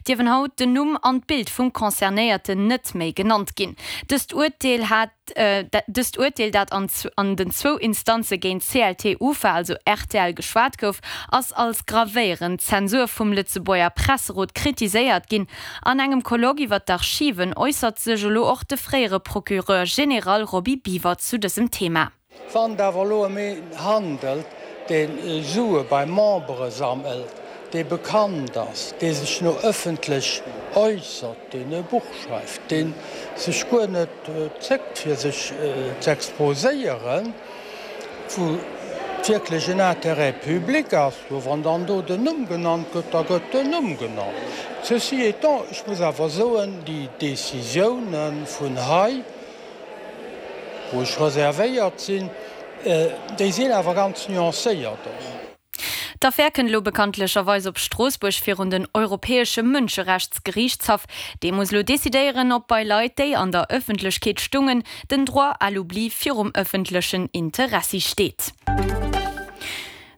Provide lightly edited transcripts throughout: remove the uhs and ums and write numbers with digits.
dierfen haut den Numm an d'Bild vum Concernéierten net méi genannt ginn. Dëst Urteel hat Dëst Urteel, dat an an den zwou Instanze géint CLT UFA, also rtl, geschwat gouf, ass als gravéierend Zensur vum Lëtzebuerger Presserot kritiséiert ginn. An engem Colloque iwwer d'Archiven äussert sech elo och de fréiere Procureur général Roby Biwer zu dësem Thema. Wann et awer elo ëm een handelt, dee Sue bei Membere sammelt, dee bekannt ass, dee sech no ëffentlech äussert, deen e Buch schreift, dee sech guer net zéckt fir sech z'exposéieren, wou wierklech en Intérêt public ass, jo wann dann do den Numm genannt gëtt, da gëtt den Numm genannt. Ceci étant, ech muss awer soen, déi Décisiounen vun hei, wou ech reservéiert sinn, déi sinn awer ganz nuancéiert och. D'Affär kënnt elo bekanntlecherweis op Stroossbuerg virun den Europäesche Mënscherechtsgeriichtshaff. Dee muss elo decidéieren, ob bei Leit, déi an der Ëffentlechkeet stungen, den Droit à l'oubli virum ëffentlechen Interessi steet.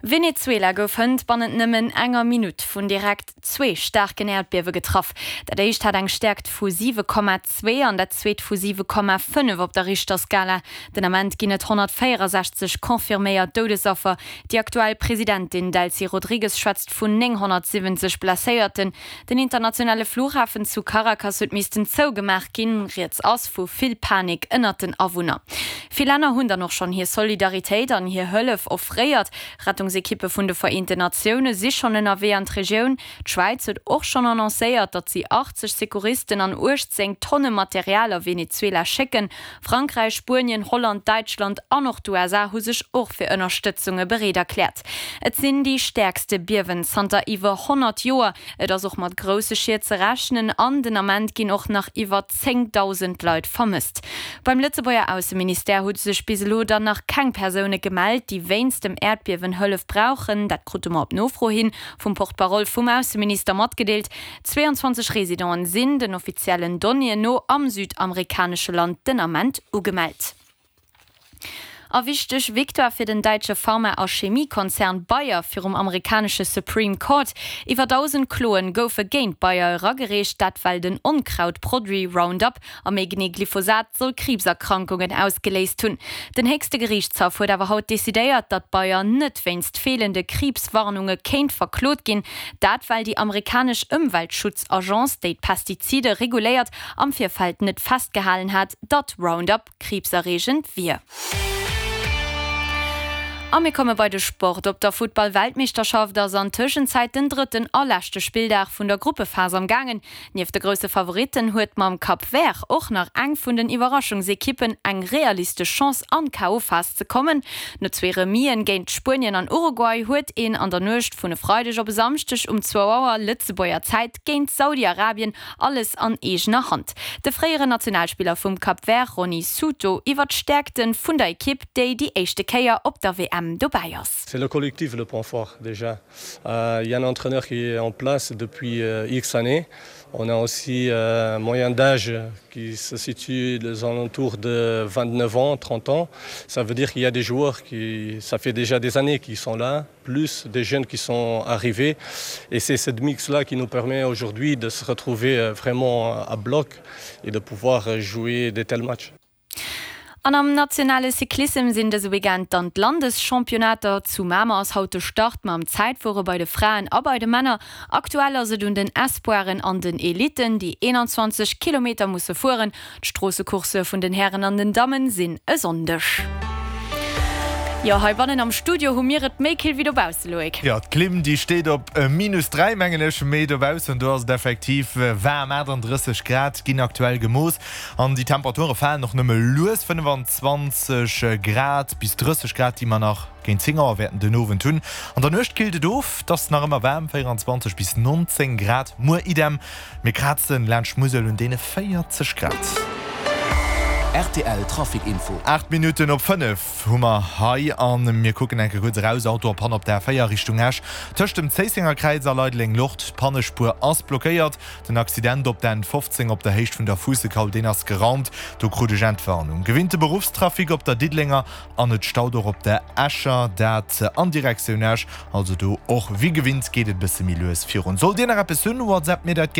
Venezuela gouf hënt bannent nëmmen enger Minutt vun direkt zwee staarken Äerdbiewe getraff. Dat éischt hat eng Stäerkt vu 7,2 an dat zweet vu 7,5 op der Richterskala. Den Ament ginn et 164 confirméiert Doudesaffer. Déi aktuell Presidentin Delcy Rodrigues schwätzt vun 970 Blesséierten. Den internationale Flughafen zu Caracas huet missten zougemaach ginn. Rieds ass vu vill Panik ënnert den Awunner. Vill Länner hunn dann och schonn hir Solidaritéit an hir Hëllef offréiert. Rettungsekippe vun de Vereenten Natioune si schonn ënnerwee an d'Regioun. D'Schwäiz huet och schonn annoncéiert, datt si 80 Secouristen an 18 Tonne Material a Venezuela schécken. Frankräich, Spuenien, Holland, Däitschland an och d'USA hu sech och fir Ënnerstëtzunge bereet erkläert. Et sinn déi stäerkste Biewen zanter iwwer 100 Joer. Et ass och mat grousse Schied ze rechnen an den Ament ginn och nach iwwer 10.000 Leit vermësst. Beim Lëtzebuerger Ausseministère hu sech bis elo dann nach keng Persoune gemellt, déi wéinst dem Äerdbiewen Hëllef brauchen. Dat krute mer op Nofro hin vum Porte-parole vum Ausseminister matgedeelt. 22 Residenten sinn, den offiziellen Donnéeën no, am südamerikanesche Land den Ament ugemellt. A wichteg Victoire fir den däitsche Pharma a Chemiekonzern Bayer virum amerikanesche Supreme Court. Iwwer 1.000 Kloen goufe géint Bayer eragereecht, dat well den Onkrautproduit Roundup A méi genee Glyphosat soll Kriibserkrankungen ausgeléist hunn. Den héchste Geriichtshaff huet awer haut decidéiert, datt Bayer net wéinst feelende Kriibswarnunge kéint verklot ginn. Dat well déi amerikanesch Ëmweltschutzagence, déi d'Pestizide reguléiert, am Virfeld net festgehalen hat, datt Roundup kriibserreegend wier. A mir komme bei de Sport. Op der Futtball-Weltmeeschterschaft ass an Tëschenzäit den drëtten a leschte Spilldag vun der Gruppephas am gaangen. Nieft de grousse Favoritten huet mam Cap Vert och nach eng vun den Iwwerraschungsekippen eng realistesch Chance an d'KO-Phas ze kommen. No zwee Remis'en géint Spuenien an Uruguay huet een an der Nuecht vun e Freideg op e Samschdeg um zwou Auer Lëtzebuerger Zäit géint Saudi-Arabien alles an eegener Hand. De fréieren Nationalspiller vum Cap Vert Ronny Souto iwwer d'Stäerkte vun der Ekipp, déi déi éischte Kéier op der WM dobäi ass. C'est le collectif le point fort déjà. Il y a un entraîneur qui est en place depuis X années. On a aussi un moyen d'âge qui se situe aux alentours de 29 ans, 30 ans. Ça veut dire qu'il y a des joueurs qui ça fait déjà des années qu'ils sont là, plus des jeunes qui sont arrivés. Et c'est cette mix-là qui nous permet aujourd'hui de se retrouver vraiment à bloc et de pouvoir jouer de tels matchs. An am nationale Cyclissem sinn dëse Weekend dann d'Landeschampionnaater. Zu Mamer ass haut de Start mam Zäitfuere bei de Fraen a bei de Männer. Aktuell ass et un den Espoiren an den Elitten, déi 21 Kilometer musse fueren. D'Stroossecoursse vun den Hären an den Dammen sinn e Sonndeg. Jo, heibannen am Studio hu mir et méi kill wéi dobausse, Loïc. Jo, d'Klimm déi steet op minus 3 mengen ech, mee dobaussen do ass et effektiv waarm, 38 Grad ginn aktuell gemooss. An déi Temperature falen och nëmme lues, 25 Grad bis 30 Grad, déi mer nach géint 10 Auer wäerten den Owend hunn. An der Nuecht killt et of, et ass nach ëmmer waarm, 24 bis 19 Grad. Muer idem, mir krazen laanscht d'Musel un deene 40 Grad. Rtl Trafic Info. 8 Minutten op 5 hu mer hei a mir kucken eng Kéier kuerz eraus. Auto a Panne op der A4 Richtung Esch tëscht dem Zéissenger Kräiz a Leideleng-Lort. D'Pannespuer ass blockéiert. Den Accident op der N15 op der Héicht vun der Fuussekaul, deen ass geraumt. Do krut ech Entwarnung. Gewinnte Beruffstrafic op der Diddelenger an et staut och op der Escher, dat an Direktioun Esch. Also do och wéi gewinnt geet et e bësse méi lues virun. Sollt Dir nach eppes hunn, WhatsApp mir dat gären.